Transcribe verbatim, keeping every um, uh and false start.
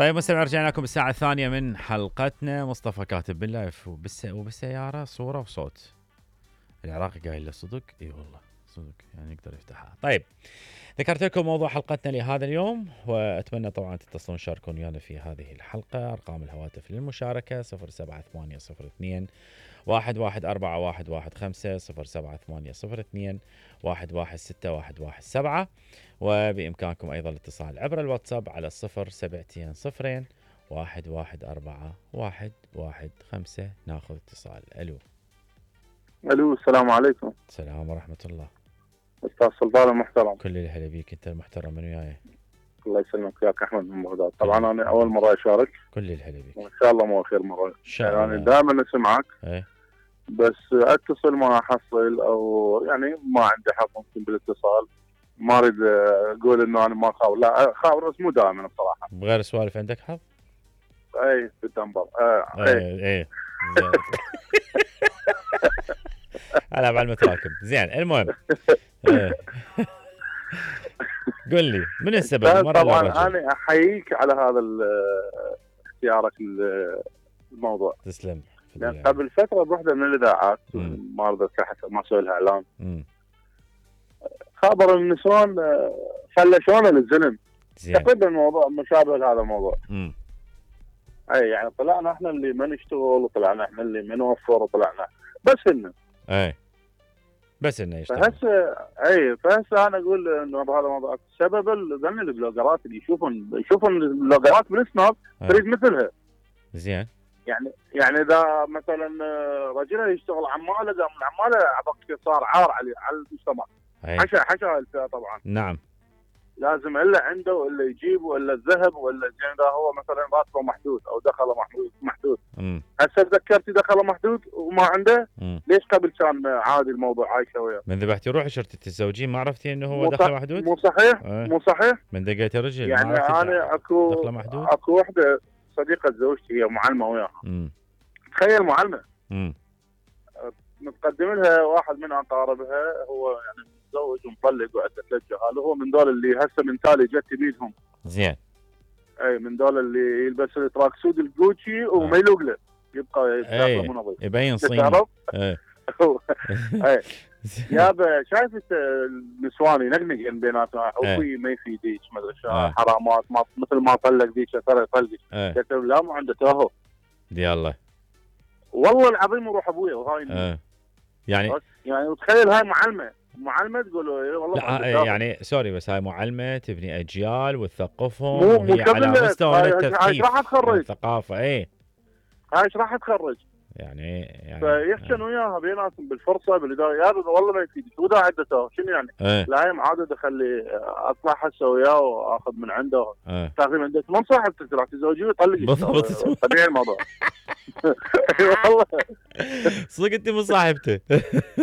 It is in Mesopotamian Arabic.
طيب مستمعين، رجعنا لكم بالساعة الثانية من حلقتنا. مصطفى كاتب باللايف وبالس... وبالسيارة صورة وصوت. العراقي قايل له صدق؟ اي والله صدق، يعني يقدر يفتحها. طيب ذكرت لكم موضوع حلقتنا لهذا اليوم، واتمنى طبعا تتصلون تشاركون ويانا في هذه الحلقة. ارقام الهواتف للمشاركة صفر سبعة ثمانية صفر اثنين واحد واحد أربعة واحد واحد خمسة صفر سبعة ثمانية صفر اثنين واحد واحد ستة واحد واحد سبعة، وبإمكانكم أيضا الاتصال عبر الواتساب على الصفر سبعتين صفرين واحد واحد أربعة واحد واحد خمسة. ناخذ اتصال. ألو. ألو، السلام عليكم. السلام ورحمة الله. أستاذ سلطان المحترم. كل الهلا بيك، أنت المحترم من وياي. الله يسلمك، وياك أحمد من بغداد. طبعا أنا أول مرة أشارك. كل الهلا بيك. وإن شاء الله مو آخر مرة. إن شاء الله. يعني دائما أسمعك. إيه. بس أتصل ما أحصل، أو يعني ما عندي حق ممكن بالاتصال. ما أريد أقول إنه أنا ما خاور، لا خاور بس مو دائما الصراحة. بغير سوالف عندك حظ؟ أي بالدنبر. آه إيه إيه. ألعب على المتراكم. زين المهم. إيه. قل لي من السبب؟ طبعا أنا أحييك على هذا اختيارك الموضوع. تسلم. لأن قبل فترة بوحدة من الإذاعات، ما أريد ما أسوي لها إعلان، خبر النسوان فلشونا للزلم. تقريبا الموضوع مشابه لهذا الموضوع. مم. أي يعني طلعنا إحنا اللي ما نشتغل، وطلعنا إحنا اللي ما نوفر، وطلعنا بس إنه. أي. بس إنه يشتغل. فهسه أي فهسه أنا أقول إنه بهذا الموضوع سبب ذن البلوجرات اللي يشوفون يشوفون البلوجرات بالسناب تريد مثلها. زين. يعني يعني اذا مثلا رجل يشتغل عماله، قام العماله عبق صار عار على على المجتمع. حشا حشا الفئه طبعا. نعم. لازم الا عنده ولا يجيب ولا الذهب ولا زين، اذا هو مثلا راتبه محدود او دخله محدود محدود. هسه تذكرتي دخله محدود وما عنده. مم. ليش قبل كان عادي الموضوع عايشه وياه؟ من ذبحتي روحي شرطي تتزوجين ما عرفتي انه هو دخله محدود؟ مو صحيح. أه. مو صحيح. من دقيتي رجل يعني انا اكو دخله محدود. اكو وحده صديقة زوجتي هي معلمة وياها. تخيل معلمة. امم متقدم لها واحد من اقاربها، هو يعني متزوج ومطلق وعدة ثلاث جهال، هو من دول اللي هسه من تالي جت بيدهم. زين. اي من دول اللي يلبس التراك سود الجوتشي وما يلوق له، يبقى يبقى منظم يبين صيني. اي اي يابا شايف النسوان ينقنق بيناتها، اخوي ما يفيديك ما ادري شو حرامات، ما مثل ما طلق ذيك ترى يطلقك. قلت له لا مو عنده تاهو. دي الله والله العظيم يروح ابويا وهاي اه يعني يعني تخيل هاي معلمه معلمه تقول له والله لا يعني سوري، بس هاي معلمه تبني اجيال وتثقفهم، وهي على مستوى التثقيف راح تخرج الثقافه. اي هاي ايش راح تخرج يعني يعني فيحسن وياها بيناتهم بالفرصه بالاداره. يا والله ما يفيد شو ذا عدته شنو يعني. ايه. لا هي معاده خلي اطلع هسه وياه واخذ من عنده. ايه. تاخذ عندك من صاحبتك راح تزوجيه ويطلق بالضبط. طبيعي الموضوع. والله صدق انت من صاحبته.